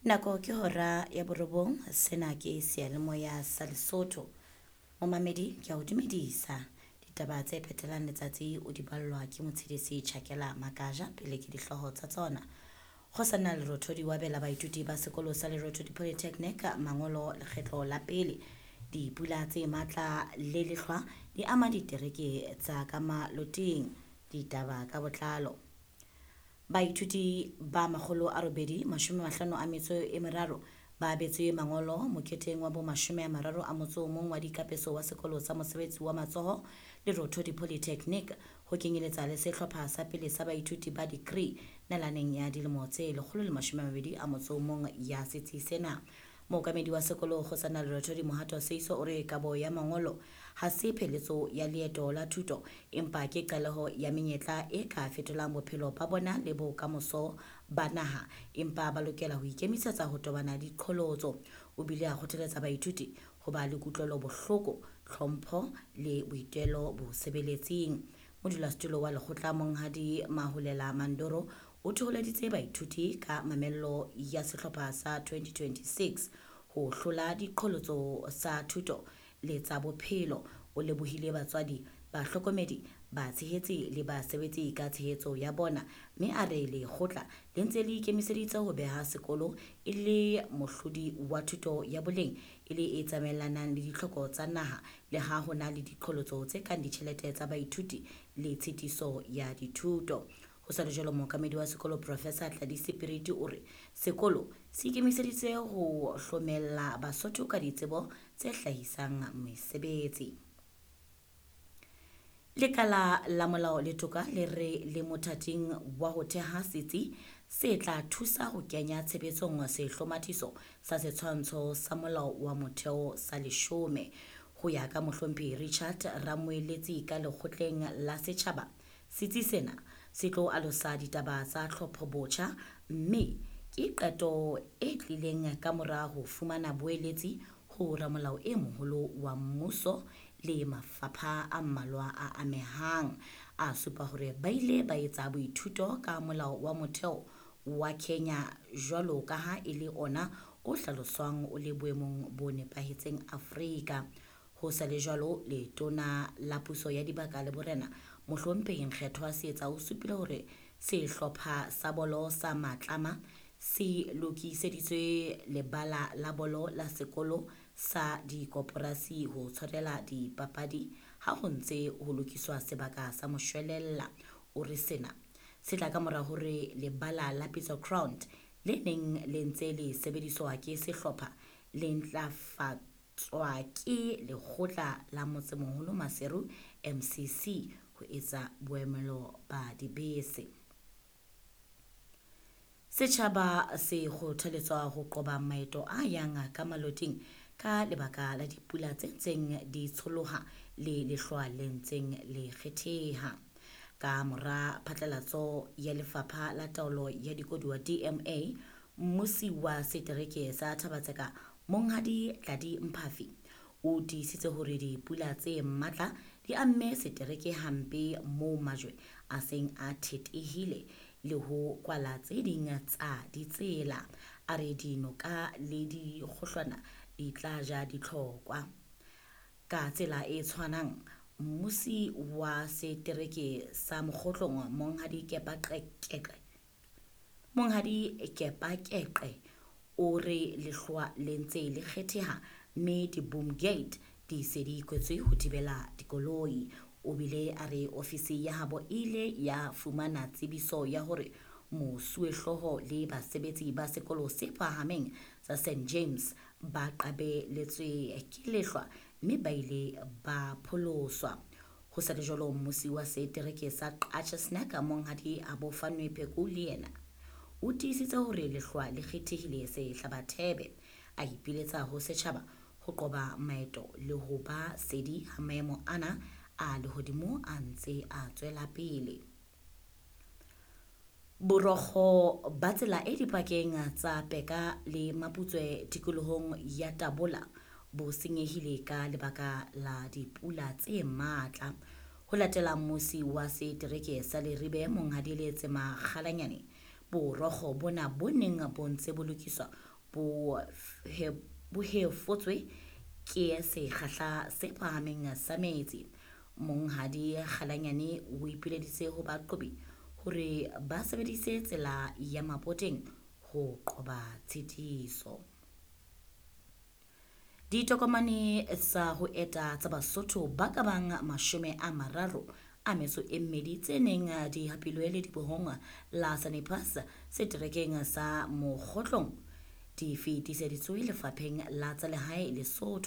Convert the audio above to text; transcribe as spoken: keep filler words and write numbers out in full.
Nako ke hora ya borobong, sena ke seyalemoya sa Lesotho. Momamedi ke a o dumedisa. Ditaba tse phethelang letsatsi o di ballwa ke Motshedisi Tjhakela Makaja pele ke dihlooho tsa tsona. Kgosana Lerothodi wa abela baithuti ba sekolo sa Lerothodi Polytechnic mangolo lekgetlo la pele. Dipula tse matla le lehlwa di ama ditereke tsa ka maloting. Ditaba ka botlalo. Baithuti ba makgolo a robedi mashome a mahlano a metso e meraro ba abetswe mangolo moketeng wa bo mashome a mararo a motso o mong wa dikapeso wa sekolo sa mosebetsi wa matsoho Lerothodi Polytechnic ho kenyeletsa le sehlopha sa pele sa baithuti ba degree nalaneng ya dilemo tse lekgolo le mashome a mabedi a motso o mong ya setsi sena. Mookamedi wa sekolo Kgosana Lerothodi Mohato Seiso o re kabo ya mangolo ha se pheletso ya leeto la thuto empa ke qaleho ya menyetla e ka fetolang bophelo ba bona le bokamoso ba naha empa ba lokela ho ikemisetsa ho tobana le diqholotso. O bile a kgothaletsa baithuti ho ba le kutlwelo bohloko, tlhompho le boitelo bosebeletsing. Modulasetulo wa lekgotla Monghadi Maholela Mandoro o thoholeditse baithuti ka mamello ya sehlopha sa twenty twenty-six ho hlola diqholotso tsa thuto le tsa bophelo. O lebohile batswadi, bahlokomedi, batshehetsi le basebetsi ka tshehetso ya bona mme a re lekgotla le ntse le ikemiseditse ho beha sekolo e le mohlodi wa thuto ya boleng e le e tsamaelanang le ditlhoko tsa naha le ha ho na le diqholotso tse kang ditjhelete tsa baithuti le tshitiso ya dithuto. Ho sa le jwalo, mookamedi wa sekolo Professor Tladi Sepiriti o re sekolo se ikemiseditse ho hlomella Basotho ka ditsebo tse hlahisang mesebetsi. Lekala la molao le toka le re le mothating wa ho theha setsi se tla thusa ho kenya tshebetsong sehlomathiso sa setshwantsho sa molao wa motheo sa leshome. Ho ya ka mohlomphehi Richard Ramoeletsi ka lekgotleng la setjhaba, setsi sena se tlo alosa ditaba tsa tlhopho botjha mme ke qeto e tlileng ka mora ho fumana boeletsi ho ramolao e moholo wa mmuso le mafapha a mmalwa a amehang. A supa hore ba ile ba etsa boithuto ka molao wa motheo wa Kenya jwalo ka ha e le ona o hlaloswang o le boemong bo nepahetseng Afrika. Ho sa le jwalo, letona la puso ya dibaka le borena mohlomphehi Nkgethwa Seetsa o supile hore sehlopha sa bolo sa Matlama se lokiseditswe lebala la bolo la sekolo sa dikoporasi ho tshwarela dipapadi ha ho ntse ho lokiswa sebaka sa moshwelella. O re sena se tla ka mora hore lebala la Pitso Ground le neng le ntse le sebediswa ke sehlopha le ntlafatswa ke lekgotla la motsemoholo Maseru M C C ho etsa boemelo ba dibese. Setjhaba se kgothaletswa ho qoba maeto a yang ka maloting ka lebaka la dipula tse ntseng di tsholoha le lehlwa le ntseng le kgetheha. Ka mora phatlalatso ya lefapha la taolo ya dikoduwa D M A, mmusi wa setereke sa Thaba-Tseka Monghadi Tladi Mphafi o tiisitse hore dipula tse matla di amme setereke hampe moo majwe a seng a thetehile le ho kwala tse ding tsa ditsela. A re dinoka le dikgohlwana di tla ja ditlhokwa. Ka tsela e tshwanang, mmusi wa setereke sa Mokgotlong Monghadi Kepa Qeqe, Monghadi Kepa Keqe o re lehlwa le ntse le kgetheha mme di-boom gate di se di kwetswe ho thibela dikoloi. O bile a re ofisi ya habo e ile ya fumana tsebiso ya hore mosuwehlooho le basebetsi ba sekolo se phahameng sa Saint James ba qabeletswe ke lehlwa mme ba ile ba pholoswa. Ho sa le jwalo, mmusi wa setereke sa Qacha's Nek Monghadi Abofanwe Pheko le yena o tiisitse hore lehlwa le kgethehile sehlabathebe. A ipiletsa ho setjhaba ho qoba maeto le ho ba sedi ha maemo ana a lehodimo a ntse a tswela pele. Borokgo ba tsela e dipakeng tsa Peka le Maputswe tikolohong ya Tabola bo senyehile ka lebaka la dipula tse matla. Ho latela mmusi wa setereke sa Leribe Monghadi Letsema Kgalanyane, borokgo bona bo neng bo ntse bo lokiswa bo bo hefotswe ke sekgahla se phahameng sa metsi. Monghadi Kgalanyane o ipileditse ho baqhobi hore ba sebedise tsela ya Mapoteng ho qoba tshitiso. Ditokomane tsa ho eta tsa Basotho ba ka bang mashome a mararo a metso e mmedi tse neng di hapilwe ledibohong la Sani Pass seterekeng sa Mokhotlong di fetiseditswe Lefapheng la tsa Lehae Lesotho.